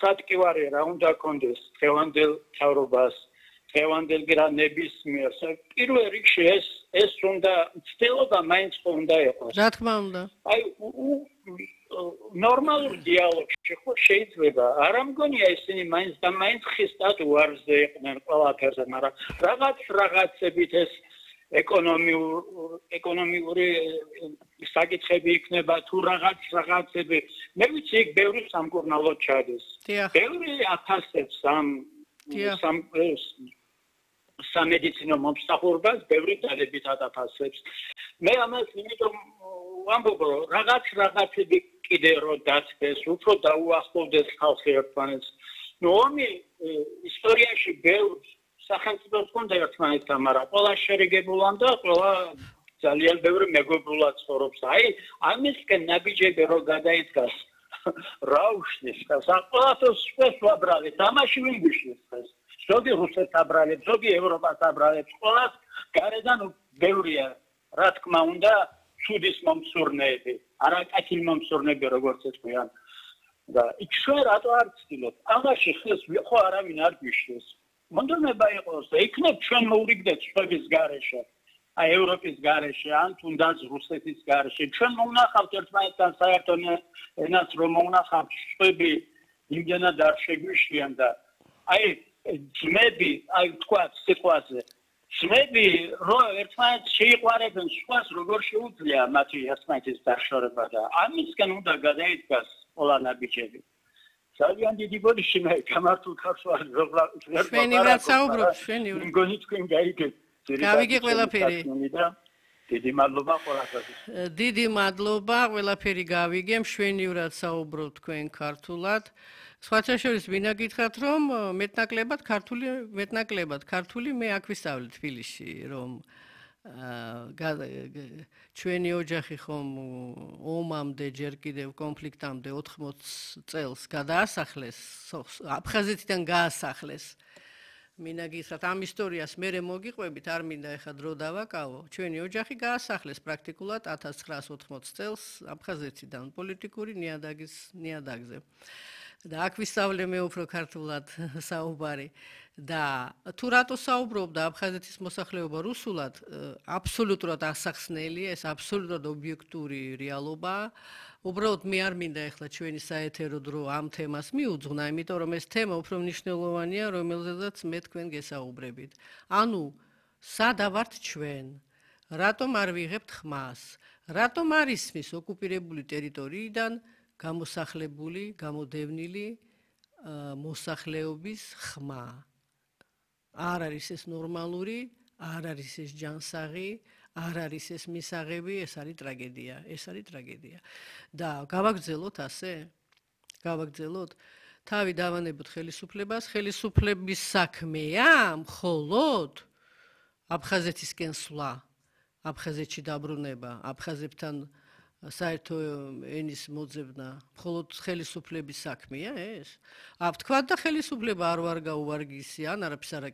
სატკივარი რა უნდა კონდეს ხევანდელ თავრობას ხევანდელ გრანებისმიერ პირველ რიგში ეს უნდა ცდილობა მაინც უნდა იყოს რა თქმა უნდა აი ნორმალური დიალოგში ხო შეიძლება არ ამგონია ისინი მაინც და მაინც ხისტად უარზე იყვნენ ყველაფერზე მაგრამ რაღაცებით ეს ეკონომიური საკითხები იქნება თუ რაღაცები მე ვიცი იქ ბევრი სამკურნალო ჩადის ბევრი აფასებს სამედიცინო მომსახურებას ბევრი დალებით აფასებს მე ამას იმიტომ ვამბობ რომ რაღაცები კიდე რო დაწეს უფრო დაუახლოვდეს ხალხი ერთმანეთს ნუ ომი ისტორიაში ბევრ სახელმწიფოს ჰქონდა ერთმანეთთან მაგრამ ყველა შერიგებულან და ყველა ძალიან ბევრი მეგობრულად ცხოვრობს აი ამისკენ ნაბიჯები რო გადაიდგას რა უშლის ყველაფერს ვაბრალებ თამაში ვიგიშლის ეს ზოგი რუსეთს აბრალებს ზოგი ევროპას აბრალებს ყველას გარედან ბევრია რა თქმა უნდა შუდის მომსურნეები არაკათილ მომსურნეები როგორც ეთქვიან და იქ შენ რატო არ ცდილობ ამაში ხეს ხო არავინ არ გიშლის მონდომება იყოს და იქნებ ჩვენ მოვრიგდეთ სხვების გარეშე აი ევროპის გარეშე ან თუნდაც რუსეთის გარეშე ჩვენ მოვნახავთ ერთმანეთთან საერთო ენას რომ მოვნახავთ სხვები იმდენად არ შეგვიშლიან და აი ძმები აი თქვა სიტყვაზე ძმები რო ერთმანეთს შეიყვარებენ სხვას როგორ შეუძლია მათი ერთმანეთის დაშორება და ამისგან უნდა გადაიდგას ყველა ნაბიჯები ძალიან დიდი ბოდიში მე გამართულ ქართველ ჩვენი რაც საუბრობთ ჩვენი მგონი თქვენ გაიგეთ გავიგე ყველაფერი დიდი მადლობა ყველასთვის დიდი მადლობა ყველაფერი გავიგე მშვენივრად საუბრობთ თქვენ ქართულად სხვათა შორის ვინა გითხრათ რომ მეტნაკლებად ქართული მე აქ ვისწავლე თბილისში რომ ჩვენი ოჯახი ხომ ომამდე ჯერ კიდევ კონფლიქტამდე 80 წელს გადაასახლეს აფხაზეთიდან გაასახლეს მინა გითხრათ ამ ისტორიას მერე მოგიყვებით არ მინდა ეხა დრო დავაკავო ჩვენი ოჯახი გაასახლეს პრაქტიკულად 1980 წელს აფხაზეთიდან პოლიტიკური ნიადაგზე და აქ ვისწავლე მე უფრო ქართულად საუბარი და თუ რატო საუბრობდა აფხაზეთის მოსახლეობა რუსულად აბსოლუტურად ასახსნელია ეს აბსოლუტურად ობიექტური რეალობაა უბრალოდ მე არ მინდა ეხლა ჩვენი საეთერო დრო ამ თემას მიუძღვნა იმიტომ რომ ეს თემა უფრო მნიშვნელოვანია რომელზედაც მე თქვენ გესაუბრებით ანუ სადა ვართ ჩვენ რატომ არ ვიღებთ ხმას რატომ არ ისმის ოკუპირებული ტერიტორიიდან გამოსახლებული გამოდევნილი მოსახლეობის ხმა არ არის ეს ნორმალური არ არის ეს ჯანსაღი არ არის ეს მისაღები ეს არის ტრაგედია და გავაგრძელოთ ასე გავაგრძელოთ თავი დავანებოთ ხელისუფლების საქმეა მხოლოდ აფხაზეთისკენ სვლა აფხაზეთში დაბრუნება აფხაზებთან საერთო ენის მოძებნა მხოლოდ ხელისუფლების საქმეა ეს? თქვა და ხელისუფლება არ ვარ გაუვარგისი ან არაფერს არ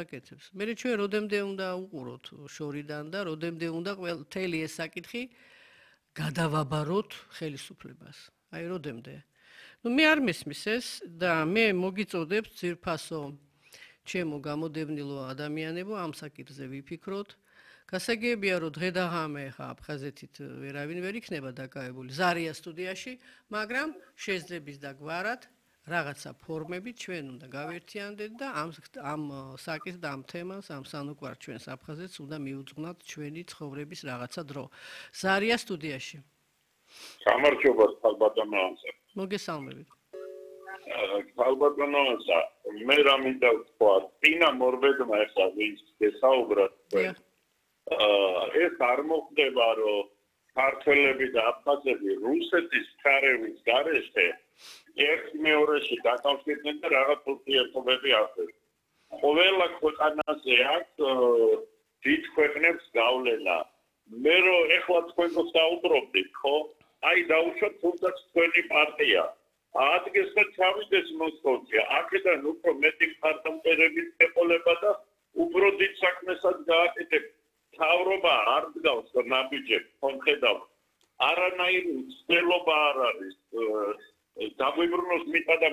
აკეთებს. მე ჩვენ როდემდე უნდა უყუროთ შორიდან და როდემდე უნდა მთელი ეს საკითხი გადავაბაროთ ხელისუფლებას. აი როდემდე. მე არ მესმის ეს და მე მოგიწოდებთ ძირფასო ჩემო გამოდევნილო ადამიანებო ამ საკითხზე ვიფიქროთ. გასაგებია რომ დღე და ღამე ხა აფხაზეთით ვერავინ ვერ იქნება დაკავებული ზარია სტუდიაში, მაგრამ შეძლებს და გვარად რაღაცა ფორმებით ჩვენ უნდა გავერთიანდეთ და ამ საკითხს და ამ თემას, ამ სანუკვარ ჩვენს აფხაზეთს უნდა მიუძღვნათ ჩვენი ცხოვრების რაღაცა დრო. ზარია სტუდიაში. გამარჯობა ხალბატონოანსა. მოგესალმებით. ხალბატონოანსა, მე რამინდა ვთქვა, წინა მორბედმა ეხლა ვის გესაუბროთ. ეს არ მოხდება, რომ ქართველები და აფხაზები რუსეთის ჩარევის გარეშე ერთ-მეორეში დაკავშირდნენ და რაღაც ურთიერთობები ახდენს. ყველა ქვეყანაზე აქვს დიდ ქვეყნებს გავლენა. მე რომ ეხლა თქვენ გსაუბრობთ, ხო? აი დაუშვათ თუნდაც თქვენი პარტია. ადგეს და ჩავიდეს მოსკოვში. აქედან უფრო მეტი მხარდამჭერების ეყოლება და უფრო დიდ საქმესაც გააკეთებ. თავრობა არ დგავს ნაბიჯებს, ხომხედავ. არანაირი ცდელობა არ არის. დაგვიბრუნოს მიწა და